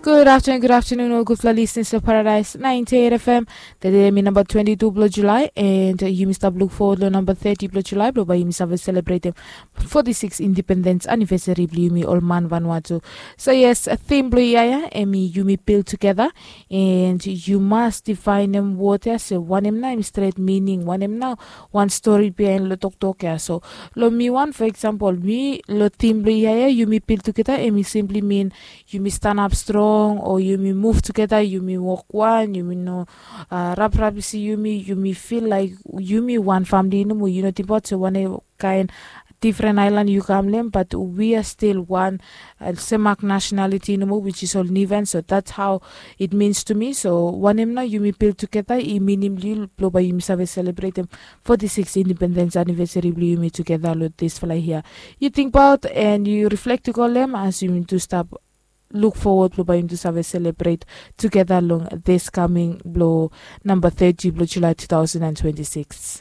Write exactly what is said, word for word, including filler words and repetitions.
Good afternoon, good afternoon, ol gudfala listeners of Paradise ninety-eight F M. Tede mi namba twenty-two blo July, and yumi stap look forward lo namba thirty blo July blo bai yumi save celebratem forty-six independence anniversary blo yumi ol man Vanuatu. So yes, theme blo ia ya em i yumi build together, and yu mas difaenem word ya se wanem nao em stret meaning, wanem nao wan story behind lo toktok ya. So lo mi wan, for example, mi lo theme blo ia ya, yumi build together, em i simply mean yumi stanap strong, o yumi move together, yumi wok wan, yumi no uh, raprap isi yumi, yumi feel like yumi wan family nomo. Yu no tingbaot se wan kaen different island yu kam lo em, but we are still one, uh, semak nationality nomo, which is ol Niuean. So that's how it means to me. So wanem nao yumi build together i minim li blo bai yumi save celebratem forty-six independence anniversary blo yumi together lo disfala ia. Yu tingbaot and yu reflect i go lo em as yumi tu stap look forward blo bai yumi tu save celebrate together long this coming blo namba thirty blo July two thousand and twenty-six.